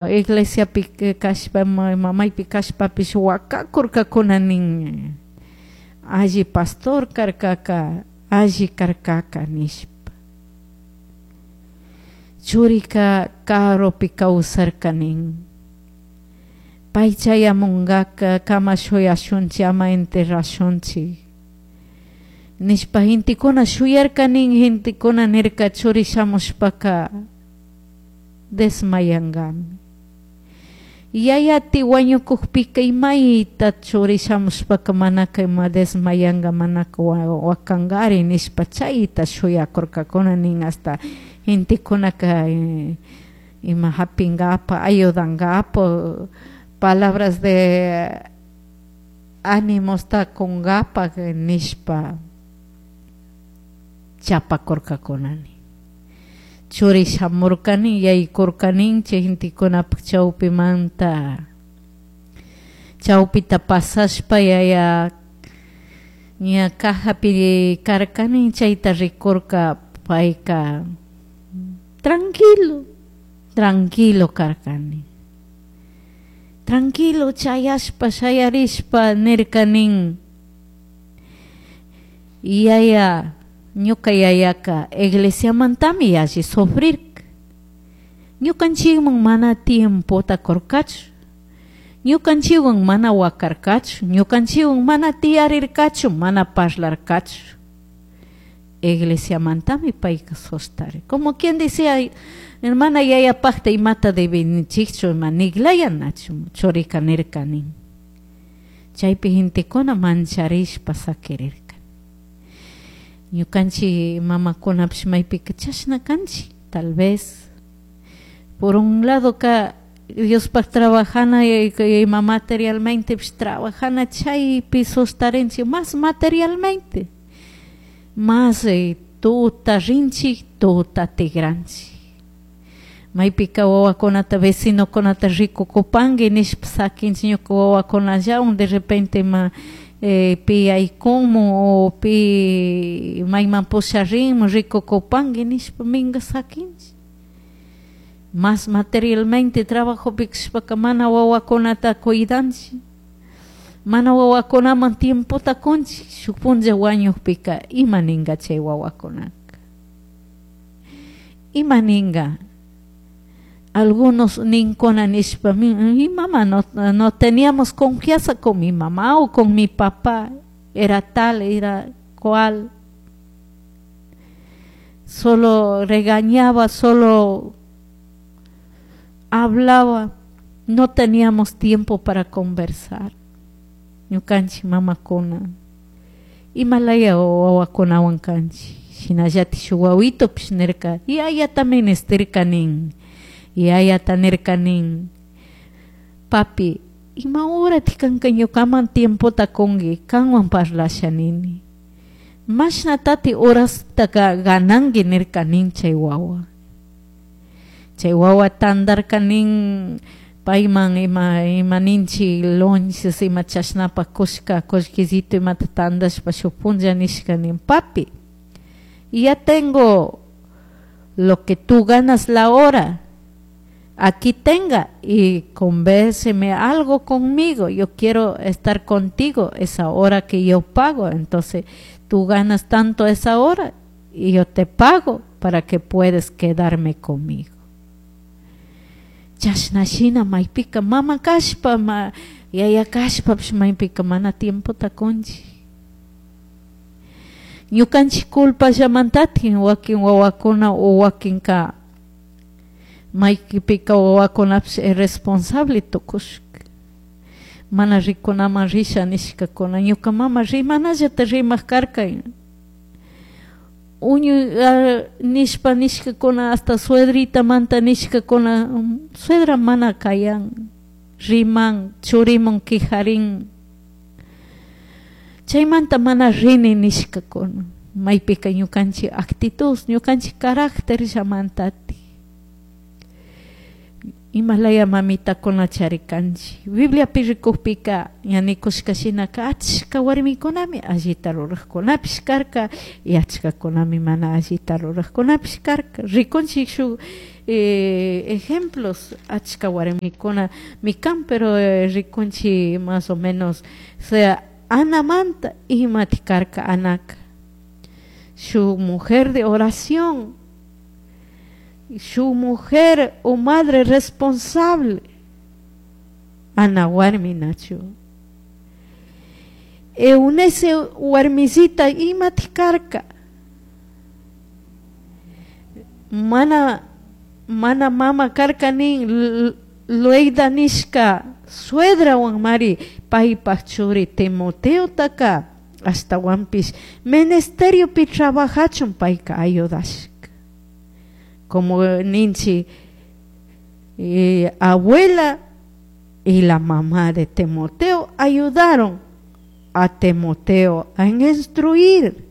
Iglesiapi kashpa, maypi kashpapish wakakurkakuna nin, alli pastor karkaka, alli karkaka nishpa. Churika karupi kawsarka nin. Pay chayamunkaka kama shuyashunchik, ama enterrashunchik nishpa gentekuna shuyarka nin, gentekuna nirka churi shamushpaka desmayankami. Yayati wañukukpika imayta churi shamushpaka manaka ima desmayanka, manaka wakankari nishpa chayta shuyakurkakuna nin, hasta gentekunaka ima hapinkapak, ayudankapak, palabras de animosta kunkapak nishpa chapakurkakuna nin. Churi shamurka nin, yaykurka nin, chay gentekunapak chawpimanta chawpita pasashpa yaya ña cajapi karka nin, chayta rikurka payka tranquilo, tranquilo karka nin. Tranquilo chayashpa shayarishpa nirka nin, yaya ñuka yayaka iglesiamantami yalli sufrirka, ñukanchikman mana tiempota kurkachu, ñukanchikwan mana wakarkachu, ñukanchikwan mana tiyarirkachu, mana parlarkachu. Iglesiamantami payka sostari. Como quien decía, hermana yayapakta imata debinichikchu, ima niglayanachu, churika nirka nin. Chaypi gentekuna mancharishpa sakirirka. Ñukanchik mamakunapish maypika chashna kanchik, tal vez. Por un lado ka Diospaq trabajana ima materialmente trabajana chaypi sostarinchik más materialmente. Más tuta rinchik, tuta tigranchik. Maypika wawakunata vecinokunata rikukupanki nishpa sakinchik ñuka wawakunallawan de repente ma pi aykunmun o pi mayman pusharinmun rikukupanki nishpa minka sakinchik. Más materialmente trabajopi kashpaka mana wawakunata cuidanchik, mana wawakunaman tiempota kunchik, shuk punlla wañukpika ima ninka chay wawakunaka, ima ninka. Algunos ninkuna nishpa, mi mamá no teníamos confianza con mi mamá o con mi papá, era tal, era cual, solo regañaba, solo hablaba, no teníamos tiempo para conversar. Ñukanchik mamakuna imalaya wawakunawan kanchik, shinallatik shuk wawitupish nirka, yayata ministirka nin, yayata nirka nin, papi, ima horatik kanka ñukaman tiempota kunki, kanwan parlasha nini, mashnatati horastaka gananki nirka nin chay wawa. Chay wawa tandarka nin, payman ima ninchik lonches ima chashnapak kushka kullkisito imata tandashpa shuk punlla nishka nin, papi, ya tengo lo que tú ganas la hora, aquí tenga y convérseme algo conmigo, yo quiero estar contigo esa hora que yo pago, entonces tú ganas tanto esa hora y yo te pago para que puedes quedarme conmigo. Chashna shina maypika mama kashpa, yaya kashpapish maypika mana tiempota kunchik. Ñukanchik culpallamantatik wakin wawakuna o wakinka maypika wawakunapish irresponsable tukushka. Mana rikunaman risha nishkakuna, ñuka mama rimanallata rimak karka. Uñu nishpa nishkakuna hasta suedritamanta nishkakuna, suedra mana kayan, riman, churimun quijarin. Chaymanta mana rini nishkakuna, maypika ñukanchik actitud, ñukanchik carácter llamantati. Imalaya mamitakuna charikanchik. Bibliapi rikukpika ña nikushka shinaka achka warmikunami allita rurajkunapish karka y achkakunami mana allita rurajkunapish karka. Rikunchik shuk ejemplos achka warmikunami kan, pero rikunchik más o menos sea Anamanta imati karka Anaka. Shuk mujer de oración, su mujer o madre responsable, Ana warmi nachu. Eunice warmisita imati karka. Mana mana mama karka nin Loida nishka suedrawan mari paypaj churi Timoteotaka ashtawanpish ministeriopi trabajachun payka ayudashka. Como ninchi abuela y la mamá de Timoteo ayudaron a Timoteo a instruir.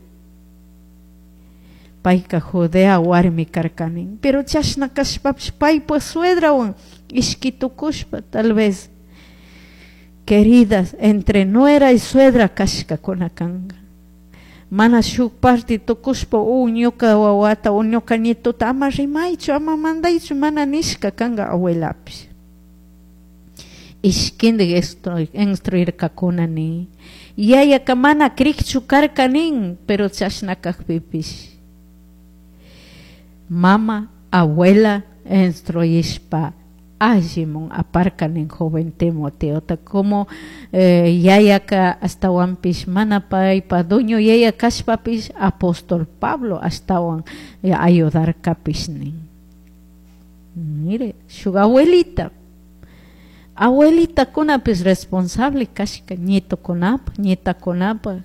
Payka Judea warmi karkanin, pero chashna kashpapish paypa suedrawan ishki tukushpa tal vez queridas entre nuera y suegra kashkakuna kanka. Mana shuk parte tukushpa o ñuka wawata o ñuka nietota ama rimaychu ama mandaychu mana nishka kanka abuelapish. Ishkindik instruirkakuna nin. Yayaka mana krikchu karka nin, pero chashna kakpipish. Mama, abuela instruyishpa allimun aparka nin joven Timoteota como yayaka ashtawanpish mana paypa dueño yaya kashpapish apóstol Pablo ashtawan ayudarkapish nin. Mire, shuk abuelita. Abuelitakunapish responsable kashka nietokunapaj, nietakunapaj.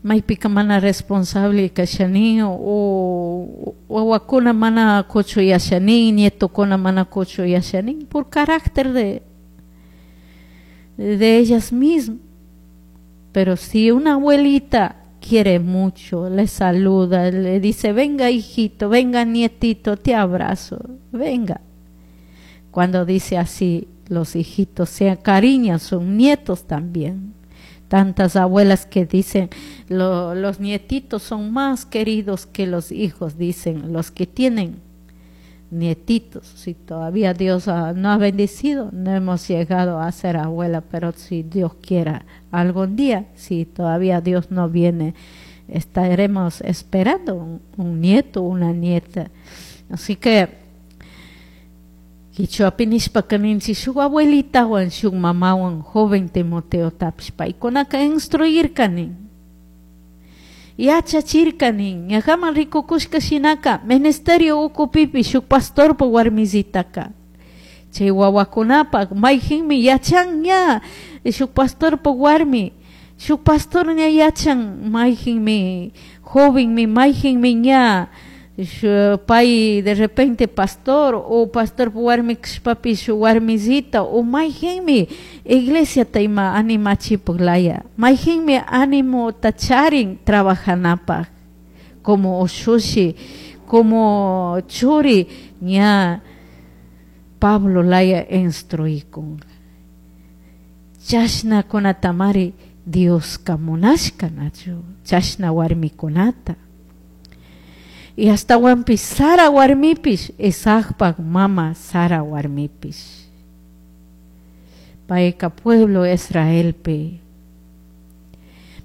Maypika mana responsable kashani o wawakuna mana kuchuyashani, nietokuna mana kuchuyashani por carácter de ellas mismas. Pero si una abuelita quiere mucho, le saluda, le dice, venga hijito, venga nietito, te abrazo, venga. Cuando dice así, los hijitos se acariñan, son nietos también. Tantas abuelas que dicen, los nietitos son más queridos que los hijos, dicen los que tienen nietitos. Si todavía Dios no ha bendecido, no hemos llegado a ser abuela, pero si Dios quiera algún día, si todavía Dios no viene, estaremos esperando un nieto, una nieta. Así que Quichuapi nishpaka ninchik shuk abuelitawan shuk mamawan joven Timoteotapish paykunaka instruirka nin. Yachachirka nin. Ñajaman rikukushka shinaka ministerio ukupipi shuk pastorpa warmisitaka. Chay wawakunapak mayjinmi yachan ña shuk pastorpa warmi, shuk pastor ña yachan mayjinmi jovenmi mayjinmi ña pay de repente pastor o pastor warmi kashpapish warmisita o mayjinmi iglesiata ima animachipuk laya, mayjinmi animota charin trabajanapaj como ushushi, como churi ña Pablo laya instruikun. Chashna kunatamari Dioska munashka nachu, chashna warmikunata. Y ashtawanpish Sara warmipish, Isaacpak mama Sara warmipish. Payka pueblo Israelpi.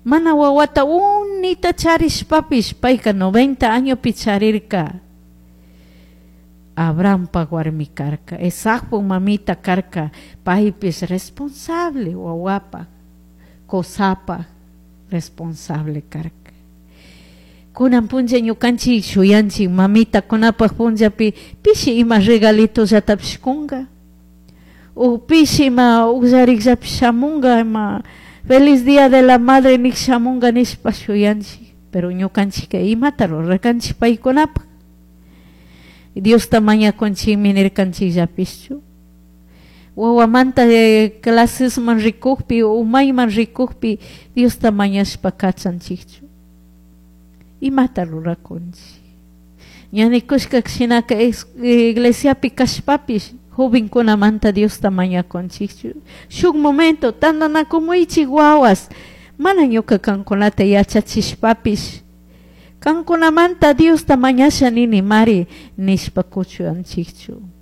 Mana wawata unita charishpapish, payka 90 añopi charirka. Abrahampak warmi karka, Isaacpak mamita karka, paypish responsable wawapak, kusapaj responsable karka. Kunan punlla ñukanchik shuyanchik mamitakunapaj punllapi pishi ima regalitollatapish kunga o pishi ima ukllarikllapish shamunga ima feliz día de la madre nik shamunga nishpa shuyanchik, pero ñukanchikka imata rurarkanchik paykunapaj. Diosta mañakunchikmi nirkanchikllapishchu. Wawamanta clasesman rikukpi o mayman rikukpi Diosta mañashpa kachanchikchu. Imata rurakunchik. Ña nikushka shinaka iglesiapi kashpapish jovenkunamanta Diosta mañakunchikchu. Shuk momento tantanakumuychik wawas mana ñuka kankunata yachachishpapish kankunamanta Diosta mañasha nini mari nishpa kuchuyanchikchu.